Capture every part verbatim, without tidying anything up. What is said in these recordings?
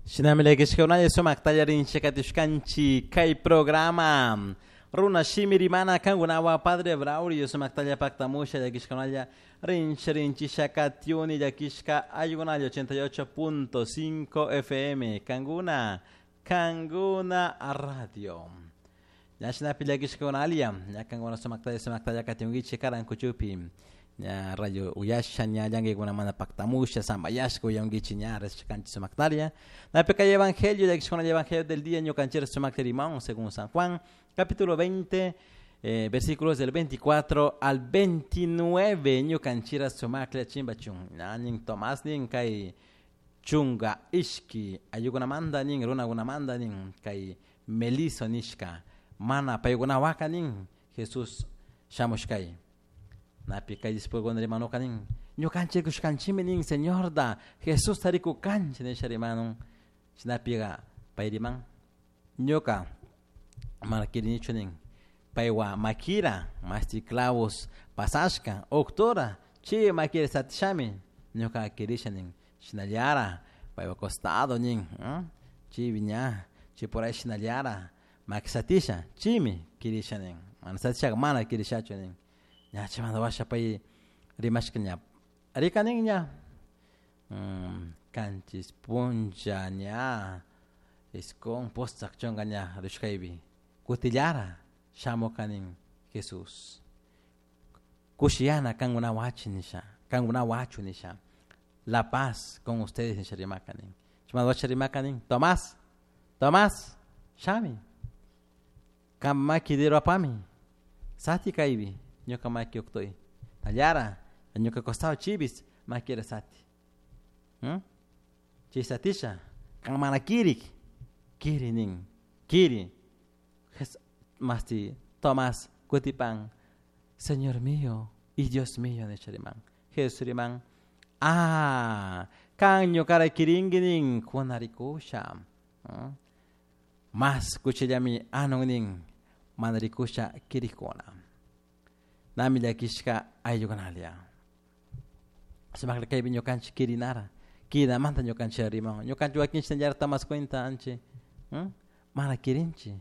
Shinami llakishkakunalla sumakta rinchik katishkanchik kay programa Runa shimi rimana kankunawan Padre Braulio sumaktalla paktamusha llakishkakunalla rinchi rinchisha katiuni llakishka ayllunalla ochenta y ocho punto cinco F M Kankuna Kankuna Radio. Ña shinapi llakishkakunalla ña kankuna sumaktalla sumaktalla katiunkichik karankuchupi ña rayo uyasha ña llankaykunamanta paktamusha sambayashka uyankichik ña rishkanchik sumaktaria. Napi kay evangelio llakishkakunalla evangelio del día ñukanchik sumakta rimón según San Juan capítulo veinte, eh, versículos del veinticuatro al veintinueve, ñukanchira sumakla chimbachun ña nin Tomás nin kay chunga ishki ayukunamanta nin runakunamanta nin kay melizo nishka mana paykunawaka nin Jesús shamushkay napi kay discipulokuna rimanuka nin ñukanchik rikushkanchikmi nin Señorta Jesús tarikukanchik nisha rimanun shinapiqa pay riman ñuka mana kirinichu nin paywa makira mashti clavos pasashka octora chi makira satishami ñuka kirisha nin shinallara paywa costado nin chibi ña chi por ahí shinallara maki satisha chimi kirisha nin mana satishaka mana kirishachu nin ña chaymanta washa pay rimashka ña rika nin ña kanchis puncha ña isqun pusaq chunka ña rishkaypi kutillara shamuka nin Jesús kushiyana kankunawachi nisha kankunawachu nisha la paz con ustedes nisha rimaka nin chaymanta washa rimaka nin Tomás Tomás shami kan maki dedo apami sati kaypi ñuka maki uqtuy tallara ñuka costado chibis makira sati hmm? Chay satisha kan mana kirik kiri nin kiri masti Tomás kutipan Señor mío y Dios mío nisha riman Jesús riman ah kan ñukara kirinki nin kunarikusha hmm? Mas kuchillami anun nin mana rikusha kirikuna nami llakishka ayllukunalia sumakla kaypi ñukanchik kirinara kirinamanta ñukanchik riman ñukanchik wakinchik nallarta mas cuenta anchi hmm? Mana kirinchik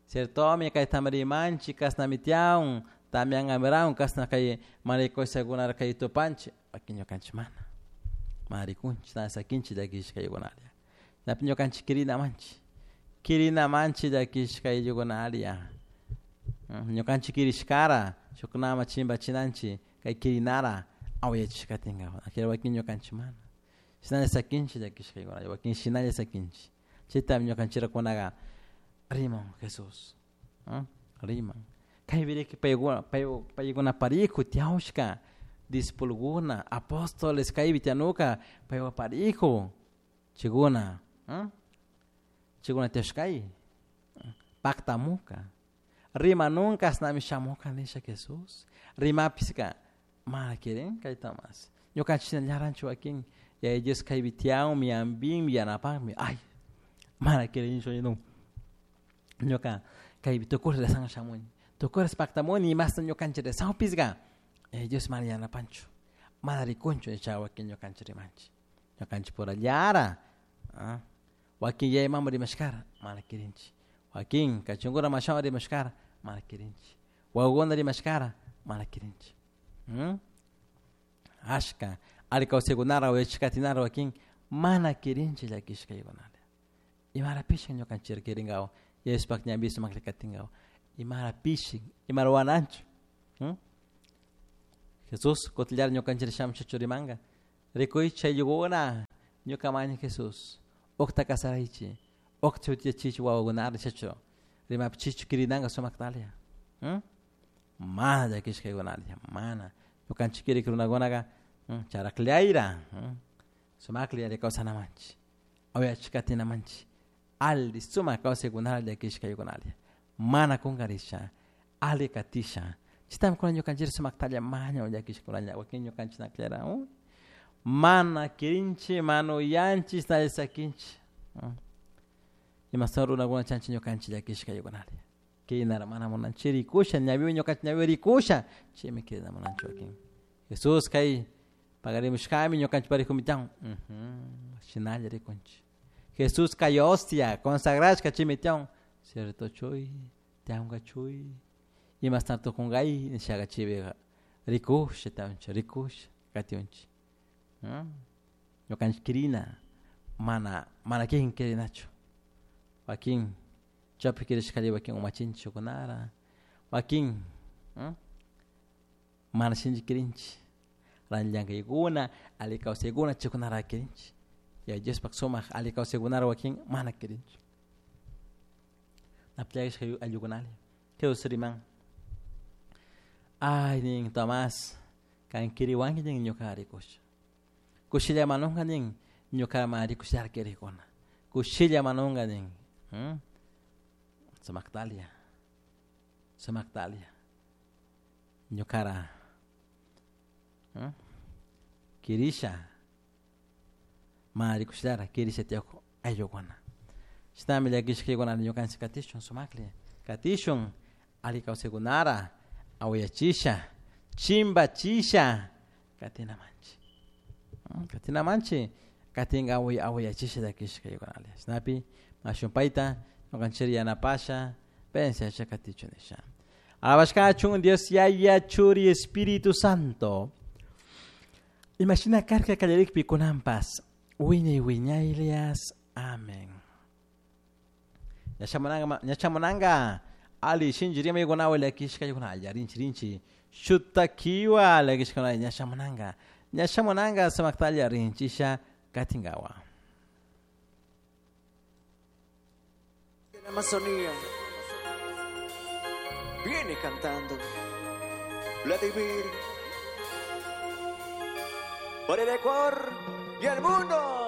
ciertomi kaytami rimanchik kasnami tiyan tamiankamirawan kasna kay marikushakuna kay tupanchik wakin ñukanchik mana mana rikunchik na sakinchik llakishka ayllukunalia napi ñukanchik kirinamanchik kirinamanchik llakishka ayllukunalia ñukanchik kirishkara shuknama chimpachinanchik kay kirinara awayachishkatinka akira wakin ñukanchik mana shinalla sakinchik llakishka ayllukunalia wakin shinalla sakinchik chaytami ñukanchikkunaqa riman Jesús riman kaypiriki paykuna paykuna parijo tiyawshka discipulokuna apóstoles kaypi tiyanuka paywa parijo chaykuna chaykuna tiyashkay paktamuka rimanunka ashnami shamuka nisha Jesús rimapiska mana kirin kay Tomás ñukanchik shinallaranchu wakin Yaya Dios kaypi tiyanmi ampinmi yanapanmi ay mana kirinchu ninun ñuka kaypi tukuy resan shamuni tukuy paktamuni imasta ñukanchik resanpisqa Yaya Dios mana yanapanchu mana rikunchu nisha wakin ñukanchik rimanchik ñukanchik purallara wakin yaya mama rimashkara mana kirinchik wakin kachunkuna mashawan rimashkara mana kirinchik wawakuna rimashkara mana kirinchik ashka alli kawsaykunara uyachishkatinara wakin mana kirinchik llakishkaykunata imara pishin ñukanchik kirinkawan Yayaspak ñanpi sumaklla katinkawan imara pishin imara wananchu Jesús kutillara ñukanchik shamushachu rimanka rikuychik ayllukuna ñuka maña Jesús uqta kasaraychik uqta shutiyachichik wawakunata nishachu rimapichichu kirinanka sumaktalia mana llakishkaykunalia mana ñukanchik kirik runakunaka charaklayra sumaklla yari kawsanamanchik awayachik katinamanchik alli sumak kawsaykunata llakishkaykunalia mana kunkarisha alli katisha chaytami kunan ñukanchik sumaktalla maña llakishkunalla wakin ñukanchik nakllara mana kirinchik mana uyanchik shinalla sakinchik imastan runakuna chanchik ñukanchik llakishkaykunalia kirinara mana munanchik rikusha ñawiwan ñukanchik ñawiwan rikusha chaymi kirina munanchik wakin Jesús kay pagarimushkami ñukanchik parijumi tiyan shinalla rikunchik Jesús kay hostia consagrashka chimi tiyan cierto chuy tiyanka chuy imashta tukunkay nishaka chaypika rikusha tiyanchik rikusha katiunchik ñukanchik kirina mana mana kikin kirinachu wakin chaypi kirishkalla wakin umachinchik shukkunara wakin mana shinchi kirinchik llank'aykuna alli kawsaykuna chaykunara kirinchik Yaya Diospak sumak alli kawsaykunara wakin mana kirinchik napillakishka ayllukunalla Jesús riman ay nin Tomás kan kiriwanki nin ñuka rikusha kushilla manunka nin ñuka ma rikushallara kirikuna kushilla manunka nin sumaktalia sumaktalia ñukara kirisha ma rikushallara kirisha tiyakun ayllukuna shinami llakishkakuna ñukanchik katishun sumakli katishun alli kawsaykunara awayachisha chimbachisha katinamanchik katinamanchik katinka away awayachisha llakishka ayllukuna shinapi mashun payta ñukanchik yanapasha pensiasha katichun nisha. Alabashkachun Dios Yaya Churi Espíritu Santo. Imashina karka kallarikpi kunanpas wiñay wiñaylias. Amén. Ñachamunanga ñachamunanga ali shinchi rimaykunawan llakishka allá rinchi rinchi shutakiwa llakishkuna ñachamunanga ñachamunanga sumaktalla rinchisha katinkawa. De la Amazonía viene cantando Vladimir por el Ecuador y el mundo.